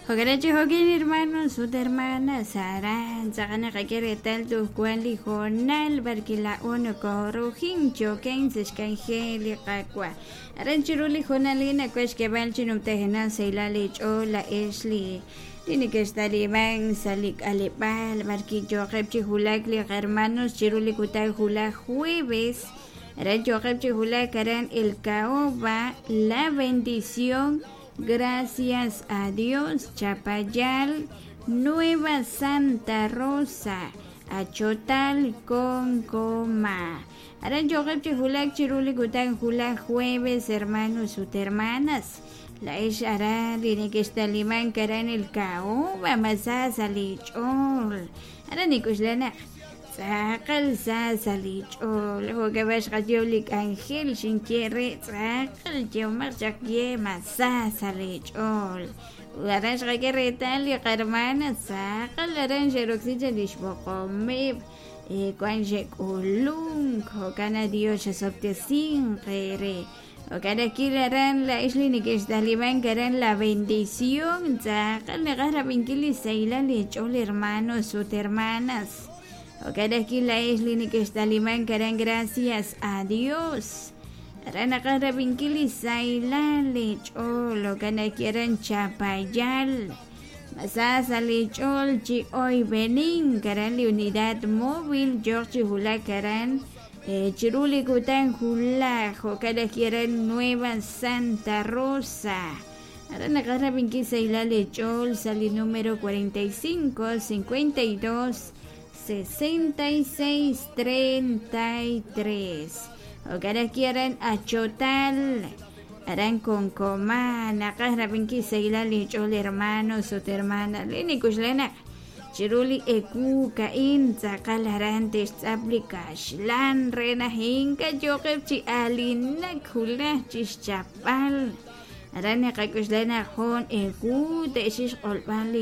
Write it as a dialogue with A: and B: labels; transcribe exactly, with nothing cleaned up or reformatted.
A: Jo'kan chi jo'kin hermanos ut hermanas aran tz'aqal naqak'e reetal tuj wan li hoonal b'ar laa'o nokoorujin choken sa' xk'anjel li Qaawa'. Aran chiru li hoonal a'in nawex xk'eeb'al chi numtajenaq sahilal li ch'ool la'ex li li nekextaliman sa' li k'aleb'aal b'ar yooqeb' chi wulak li hermanos chiru li kutan wulaj jueves. Aran yooqeb' chi wulak aran El Caoba, La Bendición, Gracias a Dios, Chapayal, Nueva Santa Rosa, Achotal, Concoma. Aran yooqeb' chi wulak chiru li kutan wulaj jueves, hermanos ut hermanas. La'ex aran li nekextaliman aran El Caoba, masa sa' li ch'ool. Aran nik'uxlanaq tz'aqal sa sa' li ch'ool. Jo'kan xqayew li k'anjel xinye re tz'aqal yeemaq chaq ye masa sa' li ch'ool. Aran xqak'e reetal li qarmana tz'aqal aran xeroksi cha li xb'oqomeb' wan xe'k'ulunk. Jo'kan Dios xesob'tesin qere. Jo'kan akil aran la'ex li nekextaliman aran La Bendición tz'aqal naqaj rab'inkil li sahilal li ch'ool hermanos ut hermanas. Jo'kan akil la'ex li nekextaliman aran Gracias a Dios. Aran naqaj rab'inkil li sahilal li ch'ool. Jo'kan akil aran Chapayal. Masa sa' li ch'ool chi oyb'enin aran li unidad móvil yooq chi wulak aran chiru li kutan wulaj. Jo'kan akil aran Nueva Santa Rosa. Aran naqaj rab'inkil sahilal li ch'ool sa' li número cuarenta y cinco, cincuenta y dos, sesenta y seis, treinta y tres. Jo'kan akil aran Achotal, aran Concoma, naqaj rab'inkil sahilal li ch'ool hermanos ut hermanas. Li nikuxlanaq chiru li eku ka'in tz'aqal aran te'xtz'ap li kaxlan re naq inka yooqeb' chi alinak wulaj chi xchapb'al. Aran naqak'uxlanaq jun eku te'xix q'olb'al li